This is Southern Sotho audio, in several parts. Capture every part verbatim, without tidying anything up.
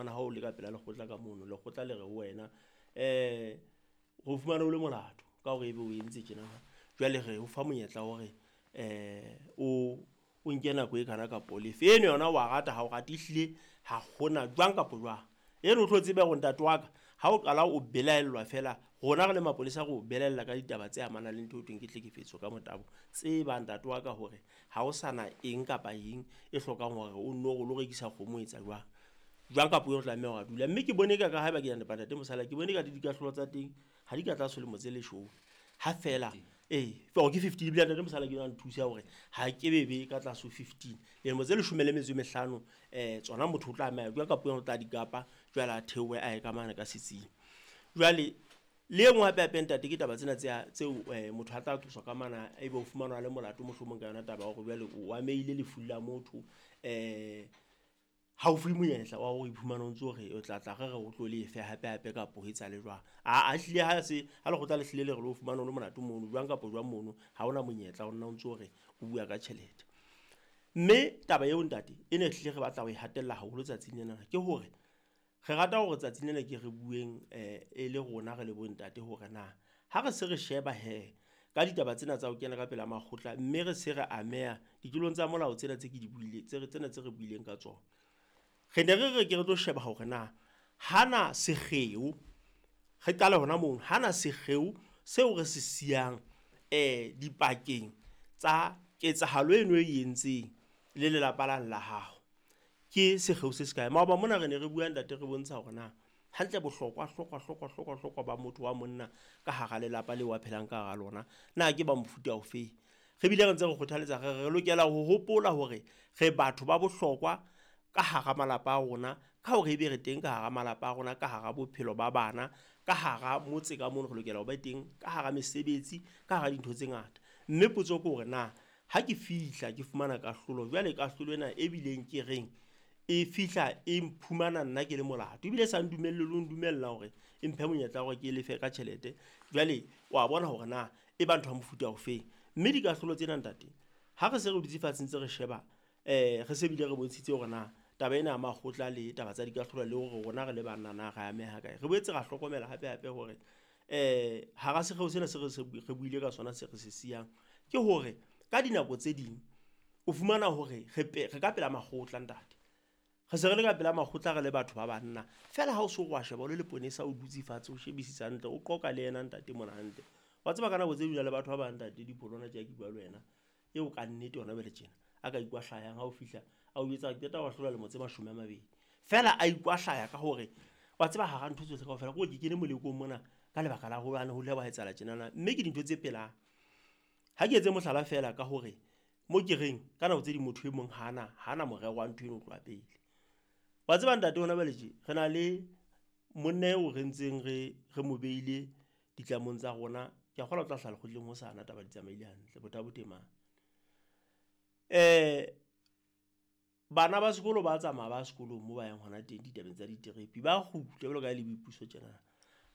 fumana ha o le ka pela lekgotla ka mono, lekgotla le re ho wena um re o fumane o le molato ka hore ebe o entse tjena. Jwale re o fa monyetla wa hore um o o nke nako e kana kapo o lefe. Eno yona wa rata ha o rate, ehlile ha hona jwang kapo jwang. Eno o tlo tsebe hore ntate wa ka ha o qala o belaellwa feela, rona re le mapolesa re o belaella ka ditaba tse amanang le ntho eo thweng ke tlhekefetso ka motabo. Tseba ntate wa ka hore ha o sana eng kapa eng e hlokang hore o nno o lo rekisa kgomo o etsa jwang. Jwang kapa o tlameha hore a dula. Mme ke bone eka ka haeba ke a nepa ntate Mosala, ke bone eka le dikahlolo tsa teng ha di ka tlase ho lemo tse leshome. Ha feela ee ke fifteen ebile ntate Mosala ke yona nthusa hore ha ke be ka tlase ho fifteen. Dilemo tse leshome le metso e mehlano um tsona motho o tlameha jwang kapa o tla di kapa jwale a theohe a ye ka mane ka setsing. Jwale le e nngwe hape hape ntate ke taba tsena tse tseo motho a tla tloswa ka mana ebe o fumanwa a le molato mohlomong ka yona taba ya hore jwale o amehile lefung la motho. Um ha o fuwe monyetla wa hore o iphumane o ntso re o tla tla re re o tlo lefe hape hape kapo ho etsahale jwang. Aa ehlile ha se ha lekgotla le hlile le re le o fumane o le molato mono jwang kapo jwang mono, ha hona monyetla o nna o ntso re o bua ka tjhelete. Mme taba eo ntate e ne hlile re batla ho e hatella haholo tsatsing lena ke hore re rata hore tsatsing lena ke re bueng e le rona re le bo ntate hore na ha re se re sheba hee ka ditaba tsena tsa ho kena ka pela makgotla, mme re se re ameha ditulong tsa molao tsena tse ke di buileng tse tsena tse re buileng ka tsona. Re ne re re ke re tlo sheba hore na hana sekgeo, re qale hona mono, hana sekgeo seo re se siyang um dipakeng tsa ketsahalo eno e entseng le lelapa lane la hao. Ke sekgeo se se kae? Maoba mona re ne re bua ntate re bontsha hore na hantle bohlokwa hlokwa hlokwa hlokwa hlokwa ba motho wa monna ka hara lelapa leo a phelang ka hara lona, na ke ba mofuta ofeng. Re bile re ntse re kgothaletsa re re lokela ho hopola hore re batho ba bohlokwa ka hara malapa a rona, ka hore ebe re teng ka hara malapa a rona, ka hara bophelo ba bana, ka hara motse ka mono re lokela ho ba teng, ka hara mesebetsi, ka hara dintho tse ngata. Mme potso ke hore na ha ke fihla ke fumana kahlolo, jwale kahlolo ena e bileng ke reng e fihla e mphumana nna ke le molato, ebile sa ndumelle le ho ndumella hore e mphe monyetla wa hore ke lefe ka tjhelete. Jwale wa bona hore na e ba ntho ya mofuta ofeng. Mme dikahlolo tsena ntate, ha re se re dutse fatshe ntse re sheba um re se bile re bontshitse hore na taba ena ya makgotla le taba tsa dikahlolo le hore rona re le banna na re ameha kae. Re boetse ra hlokomela hape hape hore um hara sekgeo sena se re se re buile ka sona se re se siyang, ke hore ka dinako tse ding o fumana hore re re ka pela makgotla ntate. Re se re le ka pela makgotla re le batho ba banna. Feela ha o so wa sheba o le leponesa o dutse fatshe o shebisisa hantle, o qoqa le yena ntate mona hantle. Wa tseba ka nako tse ding le batho ba bang ntate Dipholwana tje ke bua le wena, eo ka nnete hona jwale tjena a ka ikwahlayang ha o fihla a o jwetsa ke qeta ho ahlola lemo tse mashome a mabedi. Feela a ikwahlaya ka hore wa tseba hara ntho tsohle kaofela ke hore ke kene molekong mona ka lebaka la hobane ho ile hwa etsahala tjenana, mme ke dintho tse pelang. Ha ke etse mohlala feela ka hore mo ke reng ka nako tse ding motho e mong hana hana morero wa ntho eno ho tloha pele. Wa tseba ntate hona jwale tje re na le monna eo re ntseng re re mo beile ditlamong tsa rona. Ke a kgolwa o tla hlaha lekgotleng hosana taba di tsamaile hantle, bothata bo teng mane. Um bana ba sekolo ba tsamaya ba sekolong moo ba yang hona teng ditabeng tsa diterepi, ba kgutla jwalo ka ha e le boipuso tjena.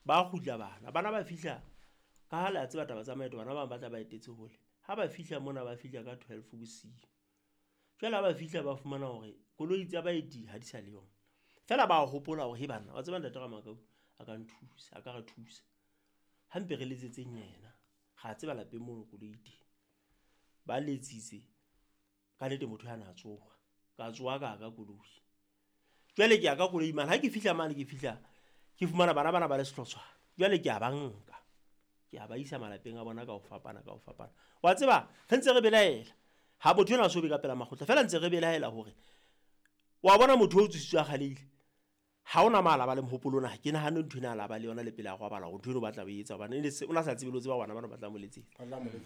Ba kgutla bana, bana ba fihla ka ha le a tseba taba tsa maeto, bana ba bang ba tla ba etetse hole. Ha ba fihla mona ba fihla ka twelve bosiu. Jwale ha ba fihla ba fumana hore koloi tsa baeti ha di sa le yona. Feela ba hopola hore he banna, wa tseba ntate Ramakau a ka nthusa, a ka re thusa. Ha mpe re letsetseng yena, ra tseba lapeng mono koloi e teng. Ba letsitse, ka nnete motho ana a tsoha. Ka tsoha ka ya ka koloi. Jwale ke ya ka koloi mane, ha ke fihla mane ke fihla ke fumana bana bana ba le sehlotshwana. Jwale ke a ba nka, ke a ba isa malapeng a bona ka ho fapana ka ho fapana. Wa tseba re ntse re belaela, ha motho enwa a so be ka pela makgotla, feela ntse re belaela hore wa bona motho o tsositswe a kgalehile, ha hona mo a la ba le mohopolo ona, ha ke nahane ntho ena a la ba le yona le pele a robala hore ntho eno o batla ho e etsa hobane o na sa tsebe le ho tseba bana bana ba tla mo letsetsa.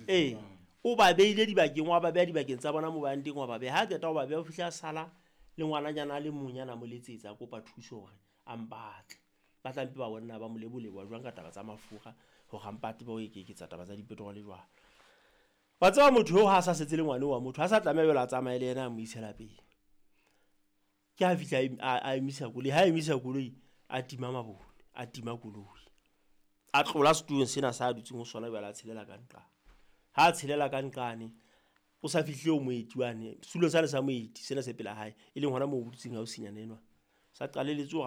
Ee, o ba beile dibakeng, wa ba beha dibakeng tsa bona moo ba yang teng, wa ba beha. Ha qeta ho ba beha, o fihla a sala le ngwananyana a le mong yana mo letsetsa, a kopa thuso hore a mpatle. Ba tla mpe ba bona ba mo lebolewa jwang ka taba tsa mafura hore a mpate ba o eketsa taba tsa dipetrol jwang. Wa tseba motho eo ha a sa setse le ngwana wa motho, ha sa tlameha jwale a tsamaye le yena a mo ise lapeng. Ke ha fihla a emisa koloi, ha emisa koloi a tima mabone, a tima koloi. A tlola setulong sena sa dutseng ho sona jwale a tshelela ka nqane. Ha a tshelela ka nqane, o sa fihle ho moeti wane, setulong sane sa moeti sena se pela hae, e leng hona moo o dutseng hausinyana enwa. Sa qalelletse hore